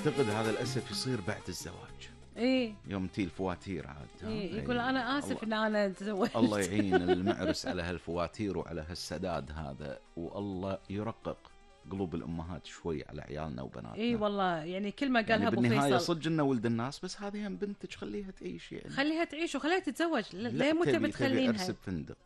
أعتقد هذا للأسف يصير بعد الزواج. إيه يوم تي الفواتير عاد. إيه يقول أنا آسف إن أنا تزوجت. الله يعين المعرس على هالفواتير وعلى هالسداد هذا، والله يرقق قلوب الأمهات شوي على عيالنا وبناتنا. إيه والله يعني كل ما قالها يعني أبو بالنهاية فيصل صدق إنه ولد الناس، بس هذه هم بنتك خليها تعيش يعني. خليها تعيش وخليها تتزوج. لا ليه مو تبي تبي عرس تخلينها؟ بفندق،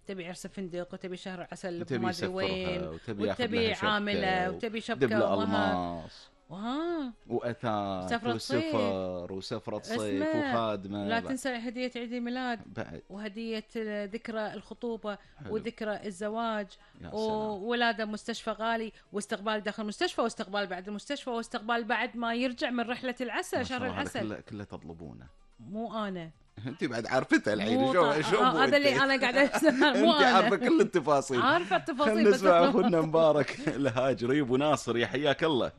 تبي عرس فندق، وتبي شهر عسل وتبي ما أدري وين، وتبي وتبي عاملة، وتبي شبكة دبل ومهر ألماس وها وأثاث سفرة صيف. وسفر وسفرة صيف اسمع، وخادمة. لا تنسى هدية عيد الميلاد بعد وهدية ذكرى الخطوبة حلو. وذكرى الزواج يا سلام. وولادة مستشفى غالي، واستقبال داخل المستشفى، واستقبال بعد المستشفى، واستقبال بعد ما يرجع من رحلة العسل، ما شاء شهر الله، هذا العسل. كله تطلبونه. مو أنا انت بعد عارفتها الحين. مو شو هذا اللي أنا قاعدة أسمع. مو انت أنا عارفه كل التفاصيل. عارفة التفاصيل. خلينا بس نسمع اخونا مبارك الهاجري ابو ناصر، يا حياك الله.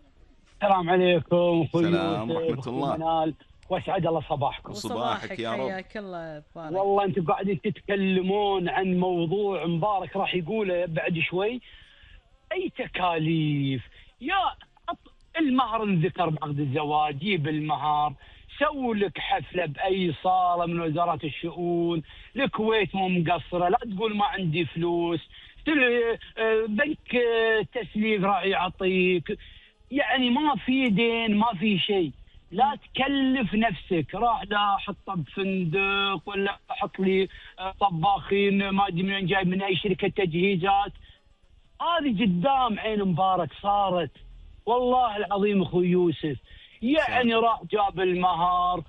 السلام عليكم اخوي سلام يوسف، ورحمة أخوي الله. منال، واسعد الله صباحكم. وصباحك يا رب. حياك الله بارك. والله انتم قاعدين تتكلمون عن موضوع مبارك راح يقوله بعد شوي. اي تكاليف يا المهر انذكر بعقد الزواج، جيب المهر، سووا لك حفله باي صاله من وزارات الشؤون، الكويت مو مقصره، لا تقول ما عندي فلوس، بنك تسليف راح يعطيك، يعني ما في دين ما في شيء. لا تكلف نفسك، راح لا حطه بفندق ولا احط لي طباخين ما ادري من جاي من اي شركه تجهيزات. هذه قدام عين مبارك صارت، والله العظيم اخوي يوسف. يعني راح جاب المهر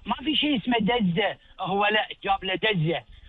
ما في شيء اسمه دزه، هو لا جاب له دزه.